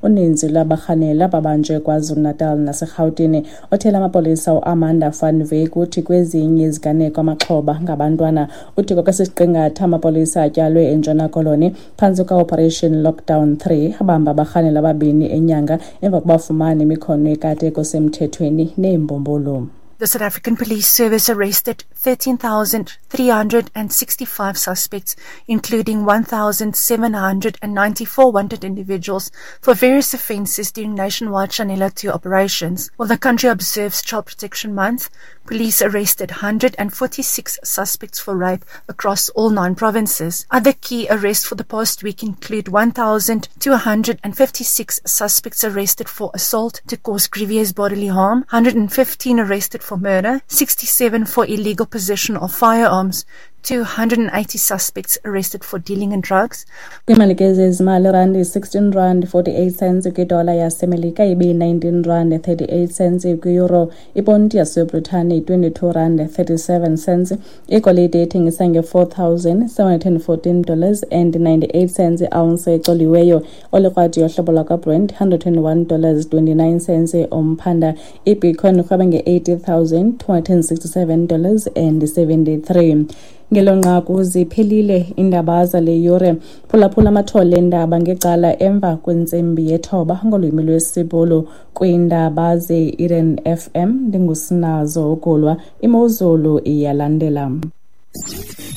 Uninzi lwabarhanelwa babanjwe KwaZulu-Natal naseRhawutini. Othela amapolisa uAmanda van Wyk uthi kwezinye iziganeko amaxhoba ngabantwana. Uthi ngokwesisiqingatha amapolisa atyalwe eNtshona Koloni phantsi kweOperation Lockdown 3 abamba abarhanelwa ababini enyanga emva kobafumana imikhono yekati ekusemthethweni neembumbulu. The South African Police Service arrested 13,365 suspects, including 1,794 wanted individuals for various offences during nationwide Shanela 2 operations. While the country observes Child Protection Month, police arrested 146 suspects for rape across all nine provinces. Other key arrests for the past week include 1,256 suspects arrested for assault to cause grievous bodily harm, 115 arrested for murder, 67 for illegal possession of firearms, 280 suspects arrested for dealing in drugs. Kwimali ke zezimali, irandi 16 rand 48 cents kwidola yaseMelika, ibe-19 rand 38 cents kwi-euro, iponti yaseBritane 22 rand 37 cents. Igolide ithengisa nge-$4,714 and 98 cents i-ounce ecoliweyo. Olikrwadi yohlobo lwakwaBrent $121 29 cents umphanda. Ibitcoin irhweba nge-$80,267 and 73. Ngelo nqaku ziphelile iindaba zale yure. Phulaphula amathole eendaba ngecala emva kwentsimbi yethoba ngolwimi lwesiBhulu kwiindaba ze-Eden FM. Ndingusinazo Ugulwa. Imozulu iyalandela.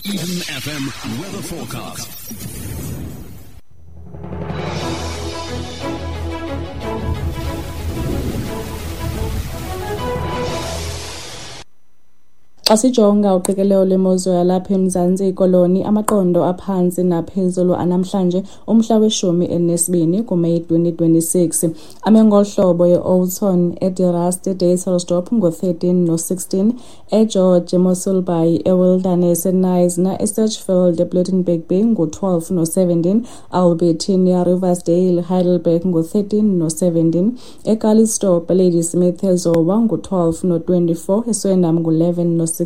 Eden FM weather forecast. Xa sijonga uqikelelo lwemozulu yalapha eMzantsi Koloni, amaqondo aphantsi naphezulu anamhlanje umhla we-12 kuMeyi 2026 ame ngolu hlobo: eOughton, eDe Rust, eDysselsdorp ngu-13 no-16, eGeorge, eMossel Bay, eWilderness, eKnysna, eSedgefield, ePlettenberg Bay ngu-12 no-17, Albertinia, Riversdale, Heidelberg ngu-13 no-17, eCalitzdorp, eLadysmith, eZowa ngu-12 no-24, eSwendam ngu-11 no-16,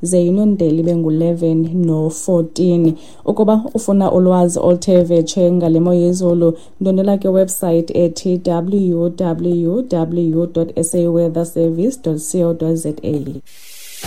ze iNondeli ibe ngu-11 no-14. Ukuba ufuna ulwazi oluthe vetshe ngale mo yezulu, ndwendwela kwiwebsayithi ethi www.saweatherservice.co.za.